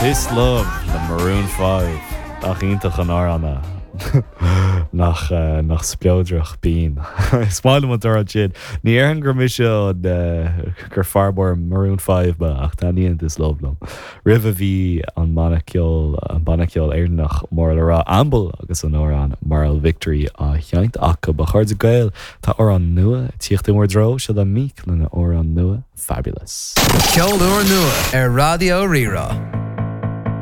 This Love le Maroon 5. Nach iontach an amhrán é. Nach nach spleodrach binn. Is maith liom an t-amhrán sin. Ní déarfainn gur mise an gur fear mór Maroon 5 mé ach taitníonn This Love liom. Roimhe bhí an banna ceoil an banna ceoil Éireannach mór le rá Amble agus an amhrán Moral Victory á sheinnt acu. A chairde Gael, tá amhrán nua ag tíocht i bhur dtreo, seo é Meek lena amhrán nua, Fabulous. Ceol úr nua ar Raidió Rí-Rá.